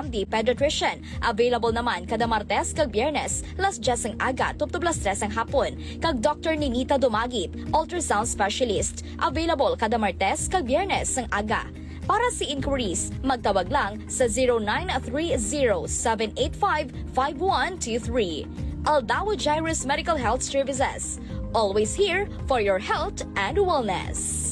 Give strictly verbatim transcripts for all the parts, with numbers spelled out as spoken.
D Pediatrician. Available naman kada Martes kag Biyernes, las diyes sang aga tubtob las tres sang hapon, kag Doctor Ninita Dumagit, ultrasound specialist. Available kada Martes kag Biyernes sang aga. Para sa inquiries, magtawag lang sa zero nine three zero seven eight five five one two three. Aldao Jairus Medical Health Services. Always here for your health and wellness.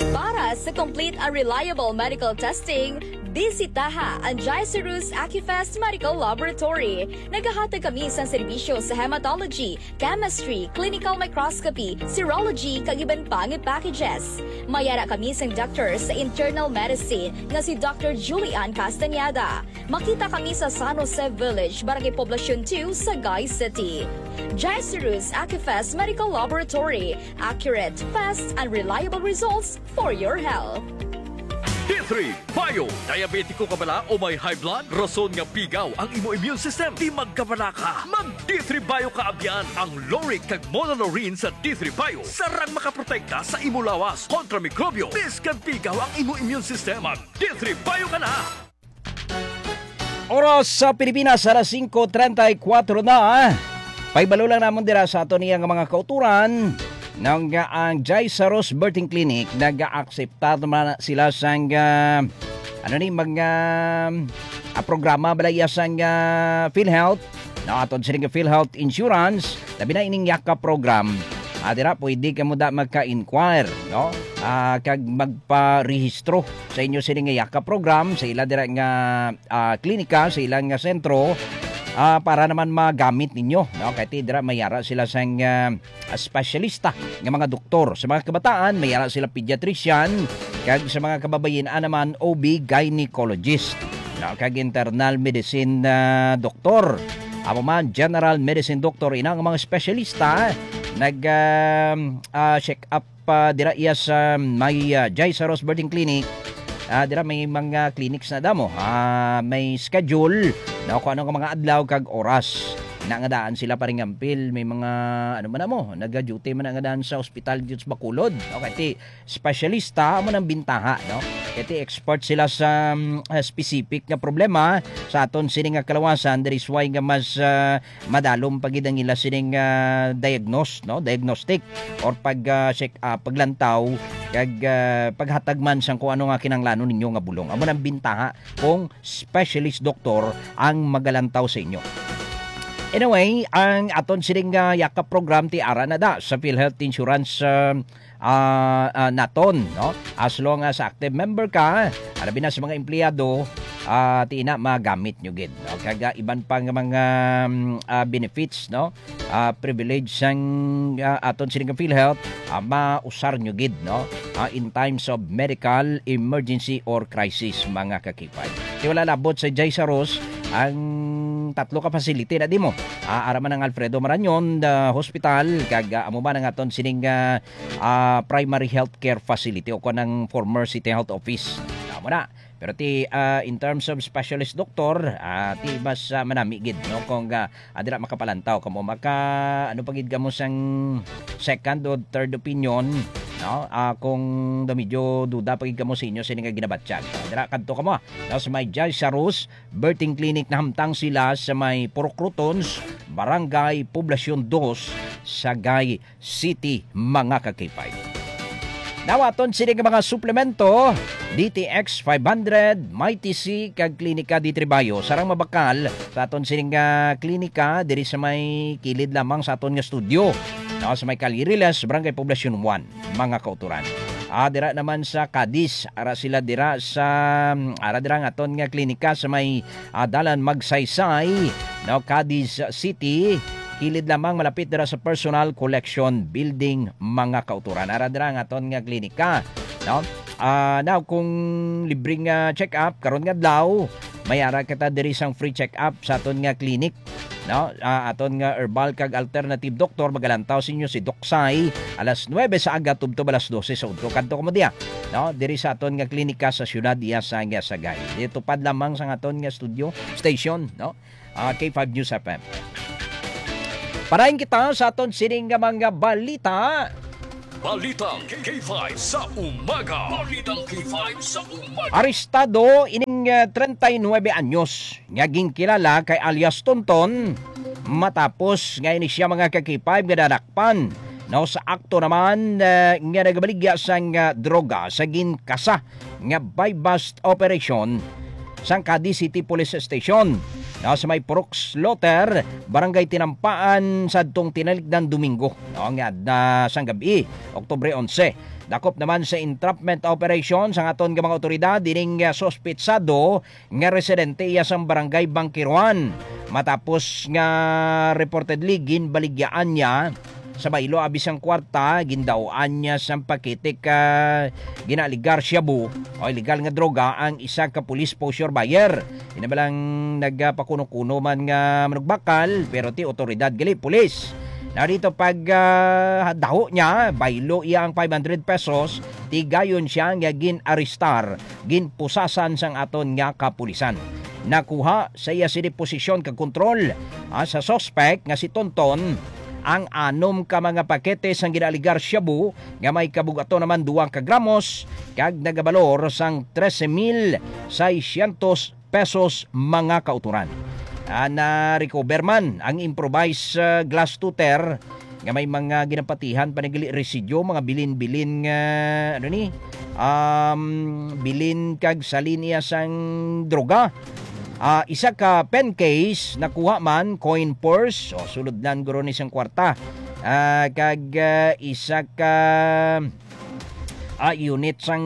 Para sa complete and reliable medical testing, bisitaha ang Jaisarus Acufest Medical Laboratory. Nagahatag kami sa serbisyo sa hematology, chemistry, clinical microscopy, serology, kag iban pa nga packages. May ara kami sang doctor sa internal medicine nga si Doctor Julian Castañeda. Makita kami sa San Jose Village, Barangay Poblacion two, Sagay City. Jaisarus Acufest Medical Laboratory. Accurate, fast, and reliable results for your health. D three Bio. Diabetiko ka bala o may high blood? Rason nga pigaw ang imo immune system. Di magkabala ka. Mag D three Bio ka abyan. Ang lauric kag monolaurin sa D three Bio sarang makaprotekta sa imo lawas kontra mikrobyo. Bisan pigaw ang imo immune system, mag D three Bio ka na. Oras sa Pilipinas, alas singko treinta y cuatro na. Paibalo lang namon dira sa aton iya nga mga kauturan nga ang Jai Saros Birthing Clinic nag-aakseptar man sila sang ah, ano ni mga ah, programa bala iya sang ah, PhilHealth, no, aton sila nga PhilHealth Insurance, labi na ining Yaka program. Ah, dira pwede kamo da magka-inquire, no? Ah, kag magparehistro sa inyo sini nga Yaka program sa ila dira nga ah, klinika sa ilang nga sentro ah, para naman magamit ninyo, no? Kay ti dira mayara sila sang ah, espesyalista nga mga doktor. Sa mga kabataan, mayara sila pediatrician, kag sa mga kababayin-an naman O B gynecologist, no? Kag internal medicine ah, doktor. Amo man, general medicine doctor, ina nga mga espesyalista nag ah, ah, check up pa dira iya sa may ah, Jai Saros Birthing Clinic. Ah, dira may mga clinics na damo. Ah, may schedule na kung ano nga mga adlaw kag oras na nga daan sila paringampil. May mga ano man mo, naga-duty man nga daan sa ospital dito sa Bacolod. Okay, ti specialista mo nang bintaha, no? Kay ti expert sila sa mm, ah, specific nga problema sa aton sini nga kalawasan. There is why nga mas ah, madalom pa gid ang ila sining ah, diagnose, no, diagnostic or pag ah, check up, paglantaw kag ah, paghatag man sang kung ano nga kinahanglanon ninyo nga bulong. Amo nang bintaha kung specialist doktor ang magalantaw sa inyo. Anyway, ang aton sining ah, Yaka program ti ara na da sa PhilHealth Insurance ah, ah, ah, naton, no? As long as active member ka, alabi na sa mga empleyado, ah, ti ina magamit nyo gid, no? Kag ah, iban pa nga mga mm, ah, benefits, no? Ah, privilege sang ah, aton sining PhilHealth, ah, mausar nyo gid, no? Ah, in times of medical emergency or crisis, mga kakipay. Ti wala labot sa Jai Saros ang tatlo ka facility na di mo. Ah, ara man ang Alfredo Marañon the Hospital, kag ah, amo man ang aton sining ah, ah, primary health care facility o kon ang former City Health Office. Amo na. Pero ti ah, in terms of specialist doctor, ah, ti mas ah, manami gid, no, kung ah, ah, dira makapalantaw kamo, maka ano pa gid kamo sang second o third opinion, no? Ah, kung da medyo duda pa gid kamo sa inyo sini nga ginabatyag. Dira kadto kamo, ah, no, sa may Jai Sarus Birthing Clinic, nahamtang sila sa may Purok Rotons, Barangay Poblacion dos, Sagay City, mga kakipay. Nawaton sini nga mga suplemento, D T X five hundred, Mighty C, kag Klinika D three Bio. Sarang mabakal sa aton sining nga klinika diri sa may kilid lamang sa aton nga studio, no, sa may Calle Riles, Barangay Poblacion one, mga kauturan. Ah, dira naman sa Cadiz, ara sila dira sa ara dira ang aton nga klinika sa may ah, Dalan Magsaysay, no, Cadiz City. Kilid lamang malapit dira sa Personal Collection Building, mga kauturan. Ara dira ang aton nga klinika, no? Ah, now, kung libre nga check-up karon nga adlaw, may ara kita diri sang free check-up sa aton nga clinic, no? Ah, aton nga herbal kag alternative doctor, magalantaw sa inyo si Doc Sai, alas nuebe sa aga tubtob alas dose sa udto. Kadto kamo diya, no? Diri sa aton nga klinika sa siyudad iya sa Sagay. Dito pad lamang sa aton nga studio station, no? Ah, K five News F M. Parahin kita sa aton sining nga mga balita. Balitang K five sa umaga. Balitang K five sa umaga. Arestado ining nga treinta y nuebe anyos nga ginkilala kay alias Tonton, matapos nga ini siya, mga ka-K five, nga nadakpan, no, sa akto naman, eh, nga nagabaligya sang, ah, droga sa ginkasa nga buy-bust operation sang Cadiz City Police Station, no, sa may Purok Slaughter, Barangay Tinampaan, sa adtong tinalikdan Domingo, no, nga, ah, sang gabi, Oktubre onse. Dakop naman sa entrapment operation sang aton nga mga awtoridad ining, ah, suspitsado nga residente iya sang Barangay Bangkiruan. Matapos nga reportedly ginbaligyaan niya sa baylo abi sang kwarta, gindaoan niya sang pakete ka ginaaligar shabu o illegal nga droga ang isa ka police poseur buyer. Ina ba lang nagapakuno-kuno man nga manugbakal, pero ti awtoridad gali, pulis. Na dito pag, ah, daho niya, baylo iya ang five hundred pesos, tigayon siya nga gin-arestar, ginpusasan sang aton nga kapulisan. Nakuha sa iya sini posisyon kag kontrol, ah, sa suspect nga si Tonton ang anom ka mga pakete sang ginaaligar shabu nga may kabugaton naman duwa ka gramos kag nagabalor sang trese mil seiscientos pesos, mga kautoran. Ah, na-recover man ang improvised, ah, glass tuter nga may mga ginapatihan pa ni gali residyo, mga bilin-bilin nga, ano ni, um, bilin kag salin iya sang droga. Ah, isa ka pen case nakuha man, coin purse, o sulod lang guro ni sang kwarta. Ah, kag, ah, isa ka ah, unit sang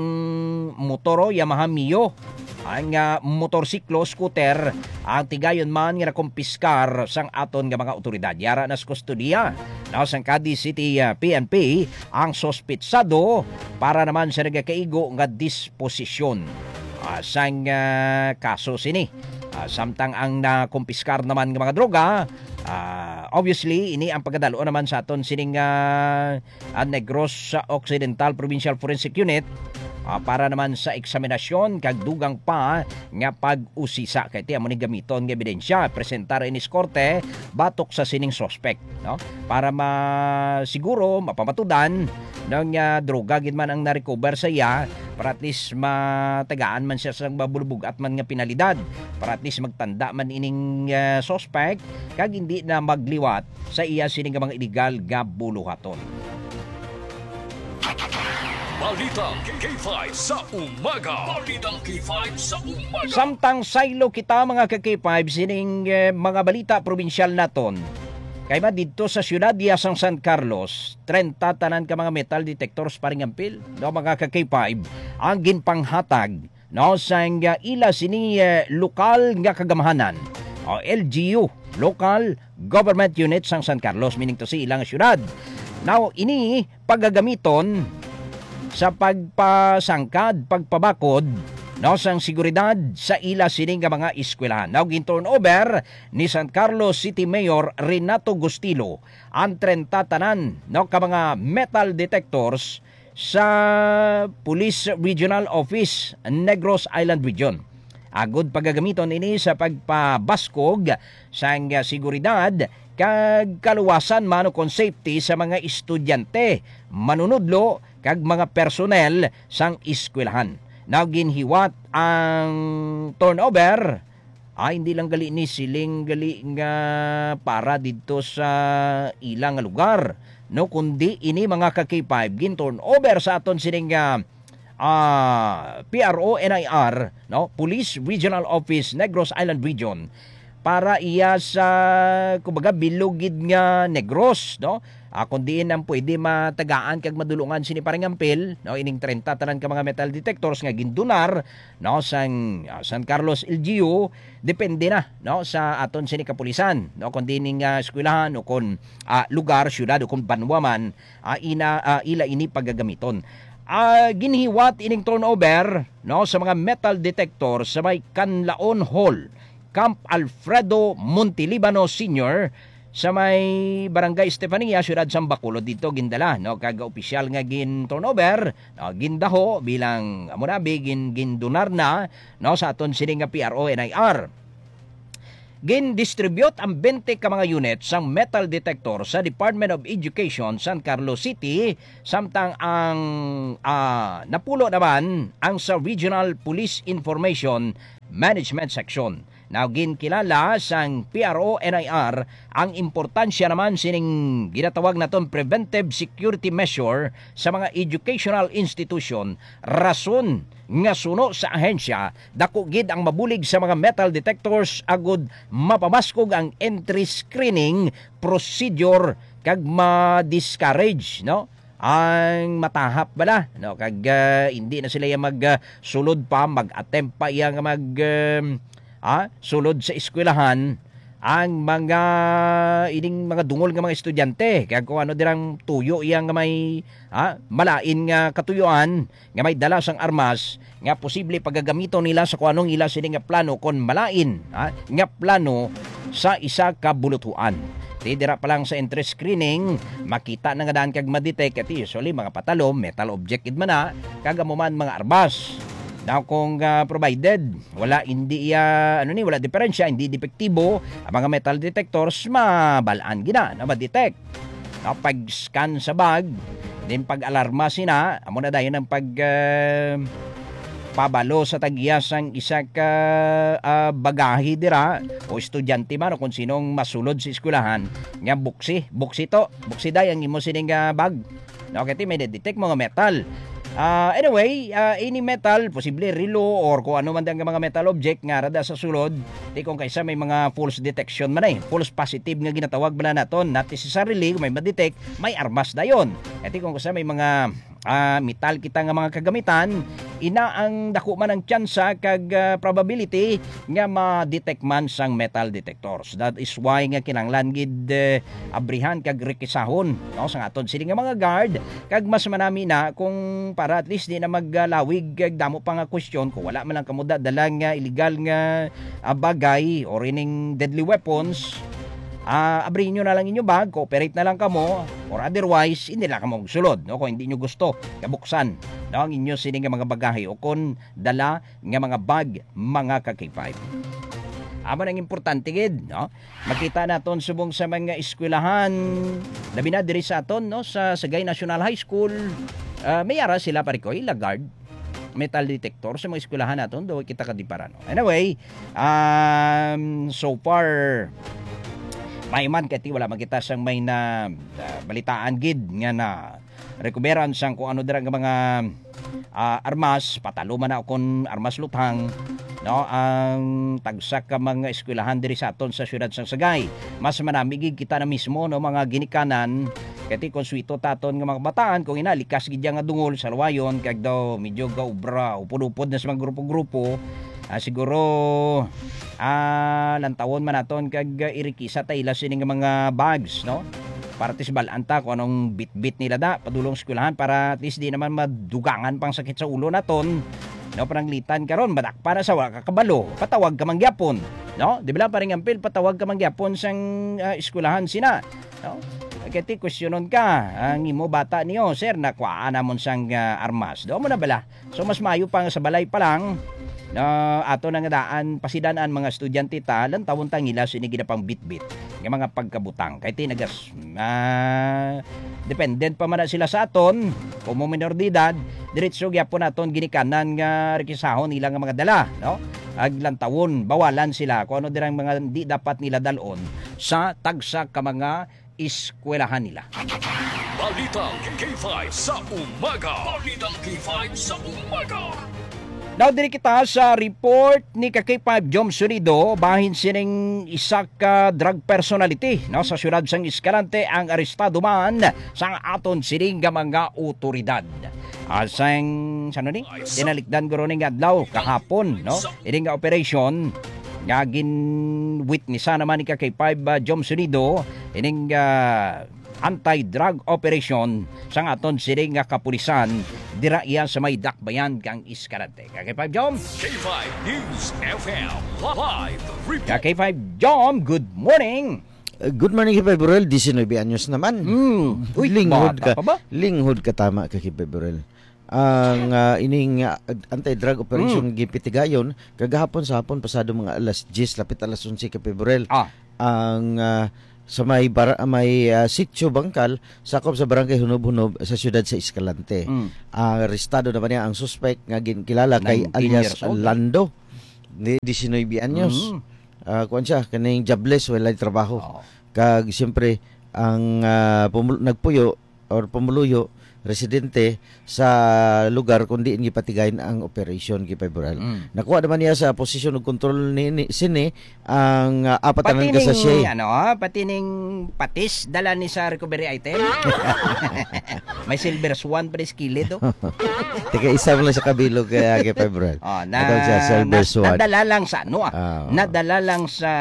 motor, o Yamaha Mio, ang, ah, motorsiklo, scooter, ang tigayon man nga nakumpiskar sang aton nga mga awtoridad. Yara na sa kustodiya, no, sang Cadiz City, ah, P N P ang suspitsado para naman sa nagakaigo nga disposisyon, ah, sang, ah, kaso sini. Ah, samtang ang nakumpiskar naman nga mga droga, ah, obviously, ini ang pagkadalo naman sa aton sining, ah, ang Negros Occidental Provincial Forensic Unit, ah, para naman sa eksaminasyon kag dugang pa nga pag-usisa. Kay ti amo ni gamiton nga ebidensya, presentar ini sa korte batok sa sining suspect, no? Para ma-, siguro mapamatudan, no, nga droga gid man ang na-recover sa iya, para at least matagaan man siya sa mabulubog-at man nga penalidad, para at least magtanda man ining, ah, suspect kag hindi na magliwat sa iya sini nga mga iligal nga buluhaton. Balita K five sa umaga. Balita K five sa umaga. Samtang saylo kita, mga ka-K five, sining, eh, mga balita probinsyal naton. Kay ba didto sa siyudad iya sang San Carlos, treinta tanan ka mga metal detectors, paring Ampil, no, mga ka-K five, ang ginpanghatag, no, sang, ah, ila sini, eh, lokal nga kagamhanan, o L G U, Local Government Unit sang San Carlos, meaning to say, ilang siyudad. Now, ini pagagamiton sa pagpasangkad, pagpabakod, no, sang seguridad sa ila sini nga mga eskwelahan. Now, gin-turnover ni San Carlos City Mayor Renato Gustilo ang treinta tanan, no, ka mga metal detectors sa Police Regional Office, Negros Island Region. Agod pagagamiton ini sa pagpabaskog sang seguridad kag kaluwasan man ukon safety sa mga estudyante, manunudlo, kag mga personnel sang eskwelahan. Now, ginhiwat ang turnover, ah, hindi lang gali ni siling gali nga para didto sa ila nga lugar, no, kundi ini, mga ka-K five, gin-turnover sa aton sining, ah, ah, P R O N I R, no, Police Regional Office, Negros Island Region, para iya sa, kumbaga, bilog gid nga Negros, no? Ah, kung diin ang pwede matagaan kag madulungan sini, paring Ampil, no, ining treinta tanan ka mga metal detectors nga gindunar, no, sang, ah, San Carlos L G U, depende na, no, sa aton sini kapulisan, no, kung diin ning, ah, eskwelahan o kung, ah, lugar, syudad o kung banwa man, ah, ina, ah, ila ini pagagamiton. Ah, ginhiwat ining turnover, no, sa mga metal detector sa may Canlaon Hall, Camp Alfredo Montelibano Senior, sa may Barangay Estefania, Siyudad sang Bacolod, dito gindala, no, kag opisyal nga gin-turnover, no, gindaho bilang amo na bi gin-, gindunar na, no, sa aton sini nga P R O N I R. Gin-distribute ang twenty ka mga unit sang metal detector sa Department of Education, San Carlos City, samtang ang, ah, napulo naman ang sa Regional Police Information Management Section. Now, ginkilala sang P R O N I R ang importansya naman sining ginatawag naton preventive security measure sa mga educational institution. Rason nga suno sa ahensya, dako gid ang mabulig sa mga metal detectors agud mapamaskog ang entry screening procedure kag ma-discourage, no, ang matahap bala, no, kag ah, hindi na sila iya mag ah, sulod pa, mag-attempt pa iya nga mag um, ah, sulod sa eskwelahan ang mga ining mga dungol nga mga estudyante, kag kung ano dirang tuyo iya nga may ah, malain nga katuyoan nga may dala sang armas nga posible pagagamiton nila sa kung anong ila sini nga plano kon malain, ha, nga plano sa isa ka buluthuan. Ti dira pa lang sa entry screening, makita na nga daan kag ma-detect, kay usually mga patalo, metal object gid man na, kag amo man mga armas. Now, kung ah, provided wala, hindi iya, ano ni, wala diferensya, hindi depektibo ang mga metal detectors, mabalaan gina na ma-detect. No, pag-scan sa bag, din pag-alarma sina, amo na dayon ang pag ah, pabalo sa tag-iya sang isa ka ah, bagahe dira, o estudyante man o kung sinong masulod sa eskwelahan, nga buksi, buksi to, buksi day ang imo sining ah, bag. No, kay may detect mga metal. Ah, anyway, ah, any metal, posible relo or kung ano man ang mga metal object nga rada sa sulod, ti kung kaysa may mga false detection man eh, false positive nga ginatawag bala naton, not necessarily kung may ma-detect, may armas dayon. Kay ti kung kaysa may mga ah, metal kita nga mga kagamitan, ina ang dako man ang tsansa kag ah, probability nga ma-detect man sang metal detectors. That is why nga kinahanglan gid eh, abrihan kag rekisahon, no, sang aton sini nga mga guard, kag mas manami na kung para at least di na maglawig kag damo pa nga question kung wala man lang kamo da-, dala nga illegal nga ah, bagay or ining deadly weapons. Ah, abrihin nyo na lang inyo bag, cooperate na lang kamo, or otherwise, hindi lang kamo magsulod, no? Kung hindi nyo gusto, kabuksan, no, ang inyo sini nga mga bagahe o kon dala nga mga bag, mga ka-K five. Amo nang importante gid, no? Makita naton subong sa mga eskwelahan, labi na diri sa aton, no, sa Sagay National High School, ah, may ara sila, pare ko, ila guard, metal detector sa mga eskwelahan naton, do kita ka di para, no? Anyway, um, so far, may man kay ti wala makita sang may na ah, balitaan gid nga na rekuberan sang kung ano dira nga mga ah, armas, patalo man na kon armas luthang, no, ang tagsa ka mga eskwelahan diri sa aton sa siyudad sang Sagay. Mas manami gid kita na mismo, no, mga ginikanan, kay ti kon suwito taton nga mga kabataan, kung ina likas gid nga dungol sa luwayon, kag daw medyo gaubra, upod-upod na sa mga grupo-grupo, ah, siguro ah, lantawon man naton kag ah, irikisa ta ila sini nga mga bags, no? Para at least bal-an ta kung anong bitbit nila da padulong eskwelahan, para at least di naman madugangan pang sakit sa ulo naton. No, pananglitan karon, madakpa na sa wala ka kabalo, patawag ka man gyapon, no? Di ba lang, paring Ampil, patawag ka man gyapon sang ah, eskwelahan sina, no? Kay ti, questionon ka ang imo bata niyo, "Sir, nakuhaan namon sang ah, armas." Do mo na bala? So, mas maayo pa nga sa balay pa lang, na ato na nga daan, pasidan-an mga estudyante ta, lantawon ta ang ila sini ginapangbitbit nga mga pagkabutang. Kay ti nagas, ah, dependent pa man na sila sa aton, kung mo minor de edad, diretso gyapon naton ginikanan nga rekisahon nila nga mga dala, no? Ag lantawon, bawalan sila kung ano dirang mga di dapat nila dalon sa tagsa ka mga eskwelahan nila. Balitang K five sa umaga. Balitang K five sa umaga. Now, diri kita sa report ni ka K five Jom Sonido, bahin sining isa ka drug personality, no, sa siyudad sang Escalante ang arestado man sang aton sining nga mga otoridad. Asang, sano ni? Tinalikdan guro ni nga adlaw, kahapon, no? Ini nga operation nga gin-witnessa naman ni ka K five, ah, Jom Sonido, ining ah, anti-drug operation sang aton sini nga kapulisan dira iya sa may dakbayan kang Escalante. Ka K five Jom? K five News F M live report. Ka K five Jom, good morning. Uh, good morning, K five Burrell. Diecinuebe anyos naman. Mm. Uy, linghod bata ka, pa ba? Linghod ka tama ka, K five Burrell. Ang ah, ining ah, anti-drug operation Mm. Gipitigayon kagahapon sa hapon, pasado mga alas diyes, lapit alas onse ka Pebrel. Ah. Ang ah, sa may bar- may ah, Sitio Bangkal, sakop sa Barangay Hunob-Hunob sa siyudad sa Escalante. Mm. Ang arestado naman niya ang suspek nga ginkilala kay Nineteen alias years old. Lando. Di, diecinuebe anyos. Mm. Ah, kuwan siya, kaning jobless, walay trabaho. Oo. Kag, siyempre, ang, ah, pumul-, nagpuyo or pumuluyo, residente sa lugar kung diin gipatigayon ang operasyon, Kay February. Mm. Nakuha naman niya sa posisyon ug kontrol ni, ni, sini ang, ah, apat Pati na ning, kasasye. Ano, ah, pati ning patis, dala ni sa recovery item. May silver swan pa rin sa kilid, oh. Tika isa mo lang sa kabilog kay, ah, Kay February. Oh, na, Atong siya, silver na, swan. Nadala lang sa ano, ah. Ah. Nadala lang sa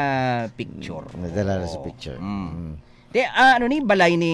picture. Nadala lang sa Oh. picture. Mm. Mm. Te, ah, ano ni, balay ni,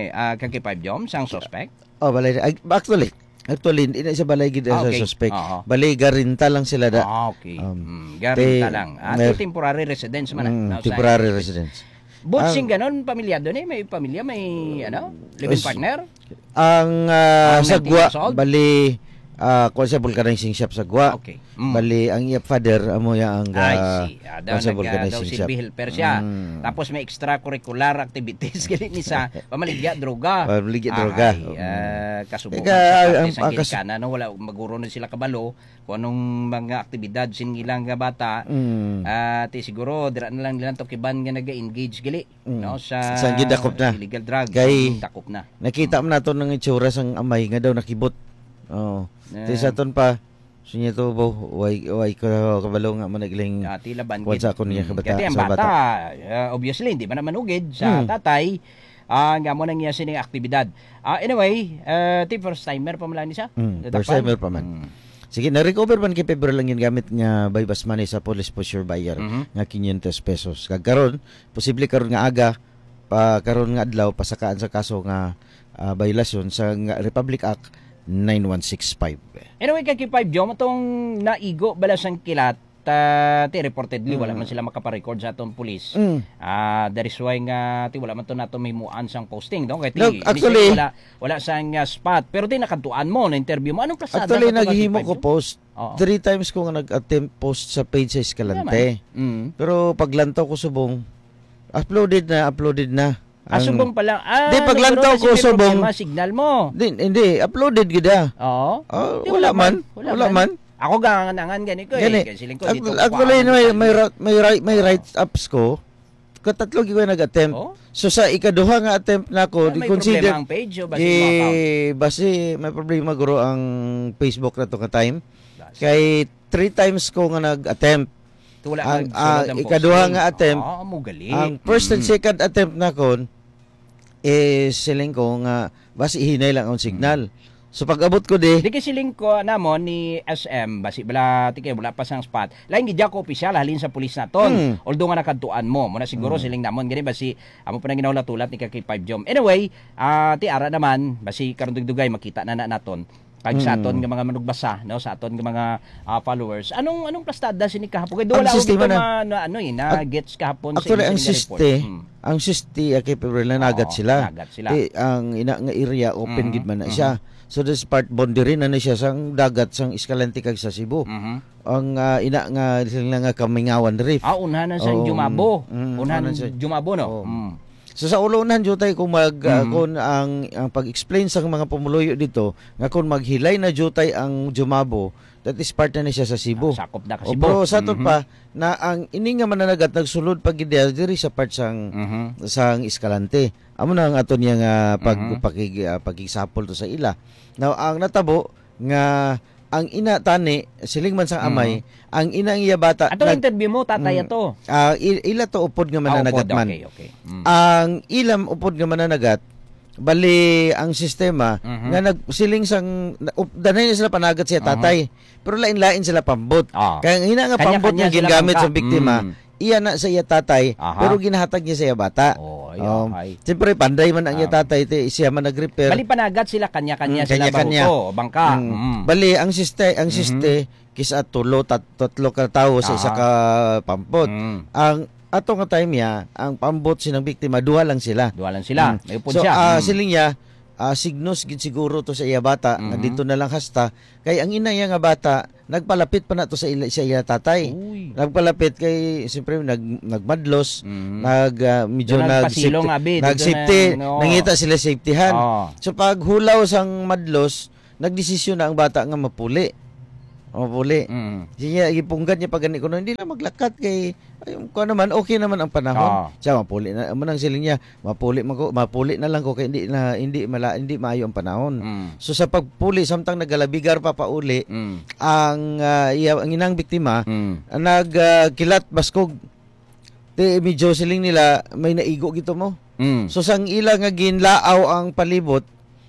ah, Kay Five Jom, sang suspect? Oh, balay. Ay, actually, actually, hindi na siya balay gid Ah, sa okay. suspect. Oo. Balay, garinta lang sila da. Ah, okay. Um, Mm, garinta te-, lang. Ah, mer-, te-, temporary residence man na, mm, no, sa temporary suspect. residence. But Ang sing ganon, pamilyado ni, may pamilya, may, ano, live-in Is-, partner? Ang, ah, Ah, sagwa, nineteen years old? bali, ah, kuwan siya, vulcanizing shop sagwa. Okay. Mm. Bali, ang iya father, amo ya ang, I ah, see. Ah, daw kuwan siya, nag-, ah, vulcanizing daw shop. Silbi helper siya. Mm. Tapos may extracurricular activities, gali ni sa pamaligya droga. Pamaligya droga. Ay, Mm. ah, kasubo Ika, man sa parte ang, sa ang kas- ginikanan, no? Wala, maguro na sila kabalo kung anong mga aktibidad sin ilang nga bata. Mm. Ah, ti siguro, dira na lang nila tukiban nga naga-engage, gali, Mm. no? Sa Sa gidakop na. illegal drugs. Kay Ang dakop na. nakita Mm. man nato ng itsura sang amay nga daw nakibot. Oo. Eh. Ti sa aton pa, sinya to, bo, way, way ko kabalo nga managling Ah, ti laban kuwan gid. sa akon niya Mm. kabata-, Kati ang sa bata, bata. ah, obviously, hindi man naman ugid sa Hmm. tatay, ah, nga mo nang iya sining aktibidad. Ah, anyway, ah, ti first timer pa man lang ni siya. Hmm, Natapan? first timer pa man. Hmm. Sige, na-recover man kay February lang yun gamit nga buy bus money sa police for sure buyer Mhm. nga quinientos pesos. Kag karon, posible karon nga aga, pa, karon nga adlaw, pasakaan sa kaso nga, ah, violasyon sa nga Republic Act nine one six five. Anyway, Kaki Five Jom, atong naigo bala sang kilat, ah, ti reportedly, wala Mm. man sila makaparecord sa atong pulis. Mm. Ah, that is why nga, ti wala man to nato mahimuan sang posting, no? Kay ti, No, initially, actually, wala, wala sang, ah, spot. Pero ti nakadtuan mo, na-interview mo. Anong pasada Actually, sa atong naghihimo Kaki Five ko Jom? post. Oo. Three times ko nga nag-attempt post sa page sa Escalante. Wala man. Mm. Pero paglantaw ko subong, uploaded na, uploaded na. Ah, Ang subong pala. Ah, Di, nagkaroon paglantaw na ko sila subong. problema, signal mo. Di, hindi, uploaded gid, ah. Oo. Ah, Di, wala wala man, man. Wala wala man. man. Ako gangan-angan gani ko, eh. Gani. Kay siling ko, di Act-, ko actually, kuhaan may, ang may timing. ra-, may right, may Oo. rights ups ko. Katatlo gyud ko nag-attempt. Oh? So, sa ikaduha nga attempt nako, Ah, di may consider problema ang page o basi gi-, mo account? basi may problema guro ang Facebook na to nga time. Basi. Kay three times ko nga nag-attempt. Wala Ang, nagsulod ah, ang ikaduha posting. nga attempt, Ah, amo gali. ang first and Mm. second attempt nakon, eh, siling ko nga, basi hinay lang ang signal. Mm. So, pag-abot ko di Di kay siling ko, namo, ni S M, basi bala, ti kay wala pa sang spot. Lain gid ako opisyal, halin sa pulis naton. Mm. Although nga nakadtuan mo, muna siguro Mm. siling namon, gani basi, amo pa nang ginahulat-hulat ni Kaki Five Jom. Anyway, ah, ti ara naman, basi karon dugdugay, makita na na naton. Kag sa aton Mm. nga mga manugbasa, no, sa aton nga mga, ah, followers. Anong, anong plastada sini kahapon? Kay Ang wala ako sistema gito na. ma-, na, ano, eh, na Ac-, gets kahapon sa actually, ang inyo nga report. siste, Hmm. ang siste, ah, kay February na nagat Oo, sila. nagat sila. Ti, ang ina nga area, open Mhm, gid man na mhm. siya. So, this part, boundary na na siya sang dagat, sang Escalante kag sa Cebu. Mhm. Ang, ah, ina nga, sila nga Kamingawan Reef. Ah, unhan na sa Oo, Jumabo. mm, mm, Unhan unhan sa Jumabo, no? Oo. Mm. So, sa ulo, unhan, Jutay, kung mag, ah, Mm. kung ang, ang pag-explain sa mga pumuluyo dito, nga kung maghilay na, Jutay, ang Jumabo, that is part na ni siya sa Cebu. Ah, sakop na ka O, Cebu. pero sa aton Mhm. pa, na ang ini nga mananagat nagsulod pa gid diri sa part sang, Mhm. sang Escalante. Amo na ang ato niya nga pag-, Mhm. pakig-, ah, pakigsapol to sa ila. Now, ang natabo nga ang ina tani, siling man sang amay, Mhm. ang ina ang iya bata Atong nag-, interview mo, tatay mm. ato? Ah, i-, ila to upod nga Ah, mananagat upod, man. okay, okay. Mm. Ang ilam upod nga mananagat, bali ang sistema Mhm. nga nagsiling sang, na-, up-, danay na sila panagat siya Aha. tatay. Pero lain-lain sila pambot. Ah. Kaya ang ina nga Kanya-kanya pambot nga sila gingamit bangka. sa biktima, Mm. iya na sa iya tatay, Aha. pero ginahatag niya sa iya bata. Oh, ay, Um, ay. Siyempre, panday man ang iya Um, tatay, ti, siya man nag-repair. Bali, panagat sila, kanya-kanya Mm, sila kanya-kanya. baruto, bangka. Mm. Mm. Bali, ang siste, ang Mhm. siste, kisa tulo, tat-, tatlo ka tawo sa isa Aha. ka pampot. Mm. Ang ato nga time niya, ang paambot sinang biktima, duha lang sila. Duha lang sila. Mm. May upod So, siya. ah, Mm. siling niya, ah, signos gid siguro to sa iya bata, nga Mhm. dito na lang hasta. Kay ang ina niya nga bata, nagpalapit pa na to sa ila, sa iya tatay. Uy. Nagpalapit kay, siyempre, nag-, nagmadlos, Mhm. nag, ah, medyo Doon nagpasilong, nag-safety, abi, dito nag-safety, na, no. nangita sila safetyhan. Oh. So, pag hulaw sang madlos, nagdesisyon na ang bata nga mapuli. Mapuli. Mm. Siya, ipunggan niya pa gani kuno, "Hindi na maglakat kay, ay, kuwan naman, okay naman ang panahon." Ah. Siya, mapuli na, amo nang siling niya, "Mapuli man ko, mapuli na lang ko kay hindi na, hindi mala-, hindi maayo ang panahon." Mm. So, sa pagpuli, samtang nagalabigar pa pauli, Mm. ang, ah, iya, ang inang biktima, Mm. nag, ah, kilat baskog. Ti, medyo siling nila, may naigo gito mo. Mm. So, sang ila nga ginlaaw ang palibot,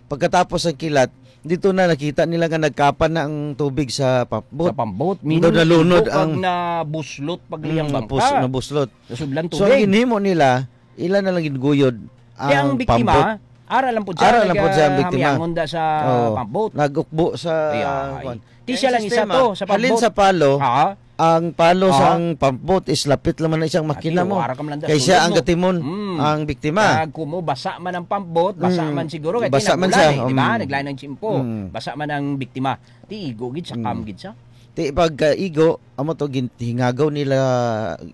pagkatapos ang kilat, dito na nakita nila nga nagkapan na ang tubig sa pambot. Sa pambot. Daw meaning, nalunod naigo kag ang nabuslot pag liyang Mm, bangka. pus-, nabuslot. Sa sudlan So, ang tubig. ginhimo nila, ila na lang ginguyod Kaya ang ang biktima, pambot. ara lang po siya, Ara lang po siya ang biktima. nagahamiangon da sa Oo. pambot. Nag-ukbo sa, Ay, ay. kuwan. Ti Kaya siya lang isa sistema, to, sa halin pambot. sa palo, Ah. ang palo Ah. sang pambot is lapit lang man na isang makina Ati, mo. wara ka man lang da Kay siya sulod ang mo. gatimon, Mm. ang biktima. Kag kumo, basa man ang pambot, basa Mm. man siguro, kay Basa man tinagulan siya, eh, di ba? mm. Naglain ang tiyempo. Mm. Basa man ang biktima. Ti igo gid sa Mm. cam gid siya. Ti pagkaigo, amo to, gin-, hingagaw nila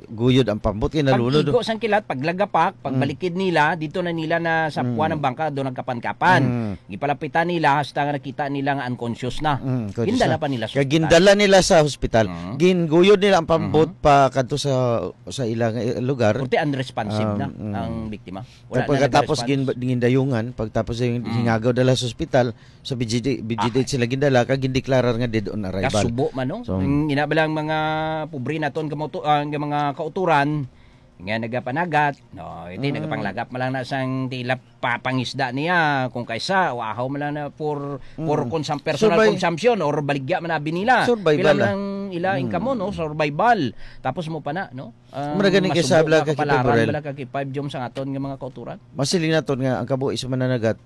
guyod ang pambot, kay nalunod. Pag-igo sang kilat, paglagapak, Mm. pagbalikid nila, dito na nila na sa Mm. puwan ang bangka, do nagkapan-kapan. Mm. Gipalapitan nila hasta nga nakita nila nga unconscious na. Mm, conscious Gindala na. pa nila sa Kaya ospital. gindala nila sa hospital. Mhm. Ginguyod nila ang pambot Mhm. pa kadto sa, sa ilang, eh, lugar. Purti unresponsive Um, na mm. ang biktima. Wala Tapos na pagkatapos nag-response. gin-, gindayungan, pagtapos yung Mm. hingagaw dala sa ospital, sa B G D, B G D H Ay. sila gindala, kag gindeklarar nga dead on arrival. Kasubo man, no? So, Ang ina ba lang mga pobre naton kamoto-, ah, nga mga kauturan, nga nagapanagat, no, hindi, Mm. nagapanglagap man lang na sang tila pa-, pangisda niya, kung kaysa, o ahaw man lang na for, for Mm. consum-, personal Survive. consumption or baligya man abi nila. Survival Pila lang. lang ila Mm. income mo, no? Survival. Tapos mo pa na, no? Ah, Mura gani kay masubo sabla nga ka, Kay kapalaran Pagburel. bala ka kay five Jom sa aton nga mga kauturan. Masiling naton nga ang kabuhi sa mananagat,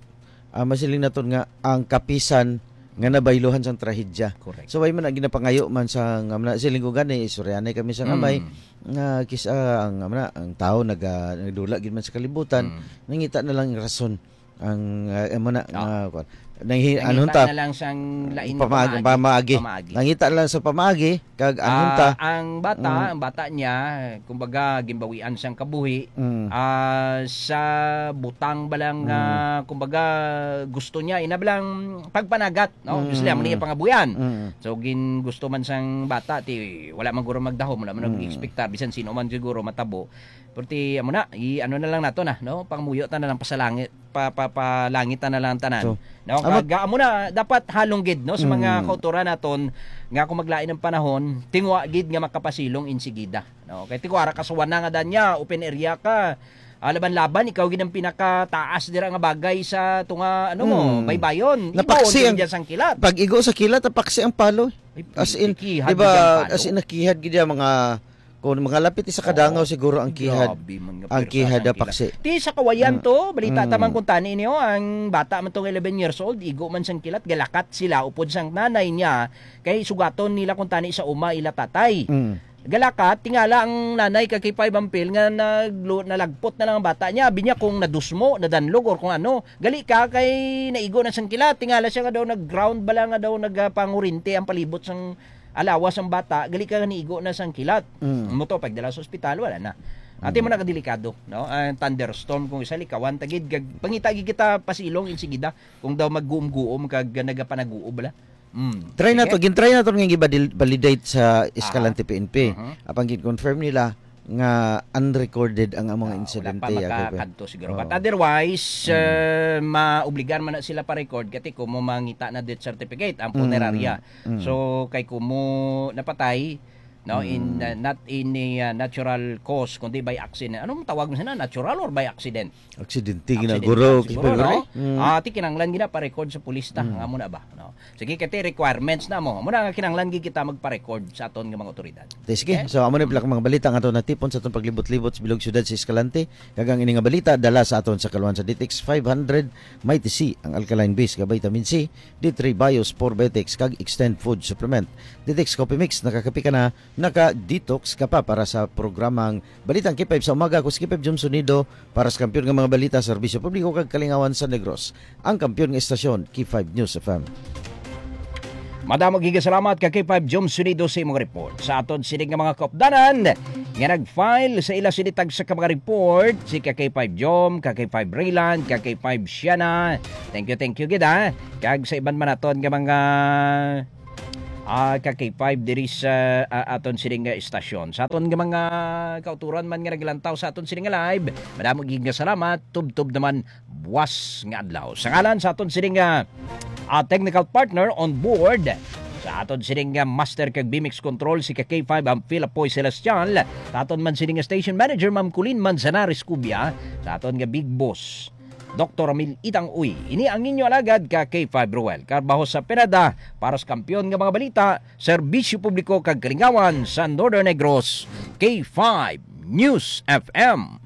ah, masiling naton nga ang kapisan nga nabayluhan sang trahedya. Correct. So, way man na ginapangayo man sa nga, muna, siling ko gani, istoryanay kami sa Mm. amay, nga kis-, ah, ang, muna, ang tao naga-, nagdula gid man sa kalibutan, Mm. nangita na lang rason. Ang, ah, amo na, Ah. nga, kwan. Nanghi-, Nangita anong ta? na lang sang lain nga Pamaag-, pamaagi. pamaagi. Pamaagi. Nangita na lang sa pamaagi, kag anong Ah, ta? ang bata, Mm. ang bata niya, kumbaga, gimbawian sang kabuhi, Mm. ah, sa butang ba lang, Mm. ah, kumbaga, gusto niya, ina ba lang pagpanagat, no? Mm. Gusto niya, amo niya pangabuyan. Mm. So, gin-, gusto man sang bata, ti, wala man guro magdahom, wala man Mm. nag-expecta, bisan sino man siguro matabo. Pero ti, amo na, i-, ano na lang nato na, no? Pangamuyo ta na lang, pasalangit, pa, pa, palangit ta na lang tanan. So, No, amo kag, amo na, dapat halong gid, no, sa mga Mm. kauturan naton nga kung maglain ang panahon, tingwa gid nga makapasilong insigida, no? Kay tingwa ra kasuwan na nga dan niya, open area ka. Ah, laban-laban, ikaw gid ang pinakataas dira nga bagay sa tunga, ano mo, Mm. baybayon. Igo Napaksi ang, dyan sang kilat. Pag igo sa kilat, napaksi ang palo. Ay, As in, piki, di ba, hagdan palo. as in, nakihad gid ang mga Kung mga lapit sa kadangaw Oo. siguro ang kihad, Grabe man nga ang pwersa kihad sang na kilat. paksi. Ti sa Kawayan Mm. to, balita Mm. ta man kung tani niyo, ang bata man tong eleven years old, igo man sang kilat, galakat sila upod sang nanay niya, kay sugaton nila kung tani sa uma ila tatay. Mm. Galakat, tingala ang nanay kay K five Ampil nga naglu-, nalagpot na lang ang bata niya. Binya kung nadusmo, nadanlog, or kung ano. Gali ka kay naigo na sang kilat. Tingala siya nga daw nag-ground bala nga daw nagpangurinti ang palibot sang alawas ang bata, gali ka nga niigo na sang kilat. Mm. Mo to, pagdala sa ospital, wala na. Ati Mm. mo na kadelikado, no? Ang thunderstorm, kung isa likawan, tagid, gag-, pangita gid kita pasilong, insigida, kung daw magguom-guom, kag nagapanaguob, bala. Mm. Try na Sige. to, gin-try na to nga i-validate sa Escalante Aha. P N P. Mhm. Apang gin-confirm nila nga unrecorded ang among Ah, wala insidente, pa ah, kay makakadto siguro. Oo. But otherwise, Mm. eh, maobligar man na sila pa-record, kati kung mo mangita na death certificate, ang Mm. punerarya. Mm. So, kay kumo napatay, no, in, Mm. uh, not in a, uh, natural cause, kundi by accident. Anong tawag mo sana? Natural or by accident? Aksidente, Aksidente gina-, guro, siguro, kay no? Pagre? Mm. Ah, ti kinahanglan gina pa-record sa pulis ta. Mm. Nga mo na ba? No? Sige, kay ti requirements na mo. Muna nga kinahanglan gid kita magpa-record sa aton nga mga otoridad. Te, sige. Okay? So, amo na pala ang mga balita nga ato natipon sa atong paglibot-libot sa bilog syudad sa Escalante. Kag ang ini nga balita, dala sa aton sa kaluan sa D T X five hundred, Mighty C, ang alkaline base nga vitamin C, D three Bio Spore Betex, kag Extend Food Supplement. D T X Coffee Mix, nakakape ka na, naka-detox ka pa. Para sa programang Balitang K five sa Umaga, ako si K five Jom Sonido, para sa kampiyon nga mga balita, serbisyo publiko, kag kalingawan sa Negros, ang kampiyon nga estasyon, K five News F M. Madamo gid nga salamat ka K five Jom Sonido sa imong report. Sa aton sining nga mga kaupdanan nga nag-file sa ila sini tagsa ka mga report, si ka K five Jom, ka K five Rayland, ka K five Shiana. Thank you, thank you gid, ha. Kag sa iban man naton nga mga ah, ka K five diri sa, ah, aton sining nga istasyon. Sa aton nga mga kauturan man nga naglantaw sa aton sining nga live, madamo gid nga salamat. Tubtob naman buwas nga adlaw. Sa ngalan sa aton sining nga, ah, technical partner on board, sa aton sining nga master kag B M X control, si ka K five ang Phil Apoy Celestial, sa aton man sining nga station manager, Ma'am Colleen Manzanares Cubia, sa aton nga big boss, Doktor Ramil Itang Uy. Ini ang inyo alagad ka K five Ruel Carbajo sa Pinada para sa kampiyon nga mga balita, serbisyo publiko kag kalingawan sa Northern Negros, K five News F M.